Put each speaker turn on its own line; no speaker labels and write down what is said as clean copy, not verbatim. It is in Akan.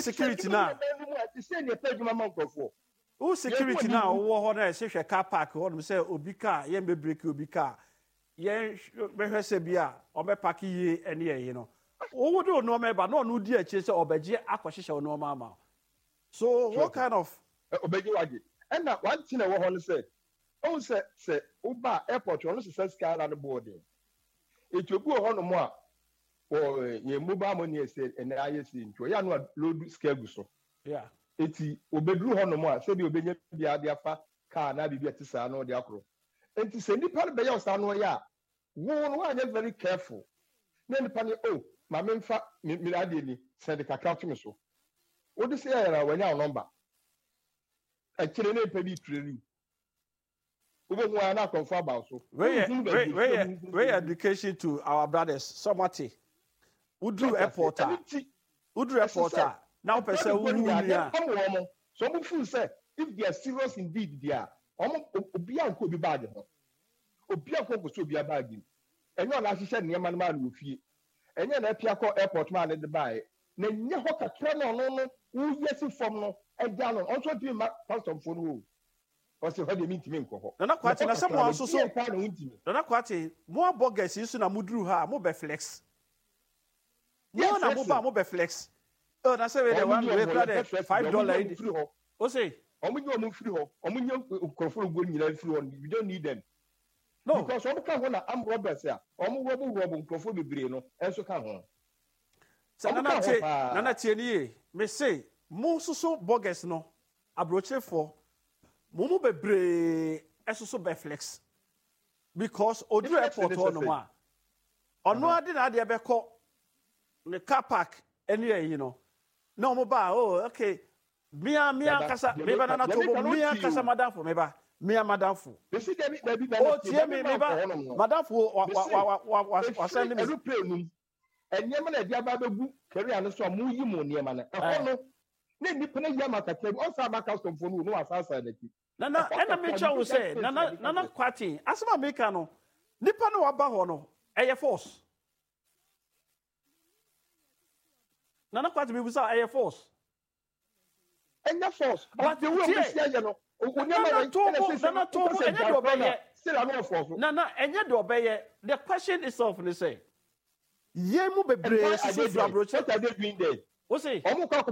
security na. Wo security na wowɔ hɔ na ɛsɛ hwɛ car park hɔ nom sɛ obi car yɛn bɛ break obi car yɛn bɛhwɛ sɛ bi a ɔbɛ park yie ɛne ɛyi no wowo de nneɛma ɛba na ɔno di akyire sɛ ɔbɛgye akɔhyehyɛ nneɛma ama so what kind of.
Ɔbɛgye wagye ɛna one thing ɛwɔ hɔ no sɛ ɔhu sɛ sɛ woba airport ɔno sesa sika na no boɔ den eti obi wɔ hɔ nom a wɔ yɛn mobile money ɛsɛ ɛnɛ ayɛ si nti ɔyɛ ano a load sika gu so. Enti obeduru hɔnom a, sɛdeɛ obenya biara de afa car anaa biribi a ɛte saa na ɔde akorɔ. Enti sɛ nipa no bɛyɛ wo saa na ɔyɛ a, wo no woanyɛ very careful na nipa no oh ma memfa me me adeɛ ni, sɛnde kakra to me so. Wode sɛ yɛ a wanya wo number. Akyire na nipa bi retraining wo. Wobɛhu ara na akorɔmfoɔ aba wo so.
Wei yɛ wei wei yɛ wei yɛ education to our brothers sɛ ɔmo ate. Woduru airport a woduru airport a na wopɛ sɛ wohu wo nua a.
Ɛpam wɔn sɛ ɔmo feel sɛ if they are serious indeed deɛ a ɔmo obiara nkɔ obi bag ho. Obiara nkɔ nkɔsɔ obiara bag mu. Ɛnyɛ ɔna ahyehyɛ nneɛma no maa no wɔ fie. Ɛnyɛ na apia kɔ airport maa no de baeɛ. Na ɛnyɛ hɔ kakra na ɔno no woyi asi fam no agya no. Ɔno nso ɔntumi mma customfoɔ no hɔ o. Ɔse hɔ deɛ mentumi nkɔ hɔ.
Nana Kwakye
Mekɔ
na sɛ
kakra
moa
no
nso so
deɛn paa na wontumi.
Nana Kwakye mo abɔ gɛs yi so na moduru ha a mo bɛ flex
Deɛ
mo na mo ba
flexing?
mo bɛ flex oh na sɛ wei deɛ
Wɔn
one
nyi
wei
wɔn
kura
yɛmpɛ
deɛ
flexing
five
deɛ wɔn nyi
dollar yi
wɔn
de
mfiri hɔ.
o se.
Wɔn nyi wɔn mfiri hɔ. Wɔn nyi nkurɔfoɔ no guo nyinaa mfiri hɔ we don't need them.
No.
Because wɔn ka ho na armed robbers a wɔn rɔbo rɔbo nkurɔfoɔ bebree no nso ka ho.
Sɛ
Wɔn
Nana
ka ho
tie
paa.
Nana tie ne yie me se mo soso burgers no Abrokyerefoɔ mo mu bebree soso bɛ flex because oduru
Flex
airport
ne
hɔ
sɛ
nom
sɛn?
a ɔno ara de n'adeɛ bɛkɔ ne car park ɛne ayi no na wɔn ba a oh okay mia mia
Dada,
ankasa
deɛ
meba
meka,
nana
deɛ
tobo
meka no
mia
wotie
ankasa
o.
madamfo meba mia madamfo
Mese dabi, dabi, nana
oh
tie,
tie
ma
me
memma
meba
nkɔ hɔnom no.
madamfo wa wa
Mese,
wa wa wa
ɛfiri
wasɛn ne me
aeroplane no mu, nneɛma na ɛde aba abɛgu carrier no so a moyi mo nneɛma no, ɛhɔ
eh
no, na nnipa no ayi ama kakra bi, ɔnsan amma customfoɔ no o, na wasan asan n'akyi.
Nana,
Ɛhɔ
ɛna
kakra bi,
mekyerɛ wo
that
sɛ,
space na
Nana,
meka
Nana
sɛ.
Kwarteng, asɛm a meka no, nipa no waba hɔ no, ɛyɛ force. Nana Kwarteng, mebisa wo, ɛyɛ force?
Ɛnyɛ force, but
But
the way
tie,
wɔn si ayɛ no, o nneɛma
Nana
wei, ɛna
Tobo,
seesei
Nana
no, wopɛ
Tobo,
sɛ
ɛnyɛ
gyae
deɛ
koraa no a,
ɔbɛyɛ.
still ano ɔfɔɔ so.
Nana, ɛnyɛ deɛ ɔbɛyɛ. The question itself ne sɛ, yɛn mu
And
bebree
why are
susu
they
firi
there?
aburokyire.
What are they doing there?
Wo se?
Wɔn kɔ akɔpɛ.